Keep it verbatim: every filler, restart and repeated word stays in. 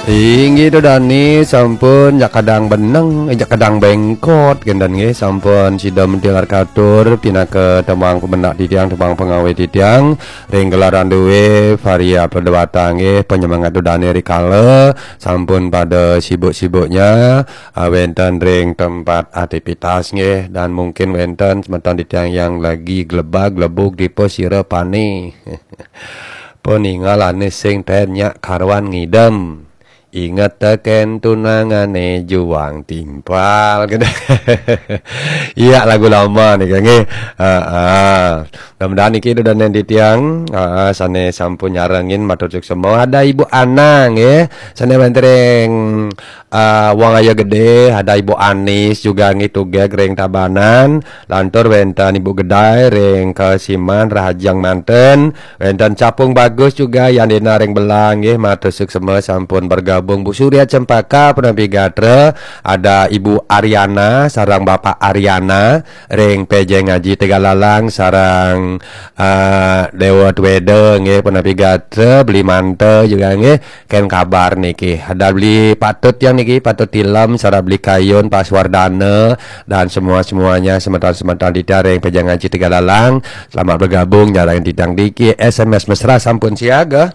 Inggih, Ida dané sampun jak kadang beneng, jak kadang bengkot kénten nggih, sampun sida mentelar katur pinaka tembang pemendak titiang, tembang pengawé titiang ring gelaran duwé Varia Perdewata nggih, penyemangat Ida dané rikala sampun pada sibuk-sibuknya, ah, wénten ring tempat aktivitas nggih, dan mungkin wénten semeton titiang yang lagi glebag-glebug dipa sira pané. Paningal ané sing ten nyak karuan ngidem. Inget tekén tunangané juang timpal. Iya, lagu lama nih, nggih. Heeh. Mudah-mudahan niki Ida dané titiang, heeh, sané sampun nyarengin matur suksma. Ada Ibu Ana nggih, sané wénten ring, eh, Wong Ayo Gedé, ada Ibu Anis juga nggih tugeg ring Tabanan, lantur wénten Ibu Gedai ring Kesiman Rahajeng manten, wénten Capung Bagus juga Yandina ring Belang nggih, matur suksma sampun bergabung. Bu Surya Cempaka punapi gatra, ada Ibu Ariana sareng Bapak Ariana ring Pejeng Aji Tegalalang sareng, eh, Dewa Tweda nggih, punapi gatra, Beli Manta juga nggih, kén kabar niki. Ada Beli Patut yang niki, Patut Tilem, sareng Beli Kayun, Pak Suwardana, dan semua-semuanya, semeton-semeton titiang ring Pejeng Aji Tegalalang. Selamat bergabung, nyarengin titiang niki, S M S mesra sampun siaga.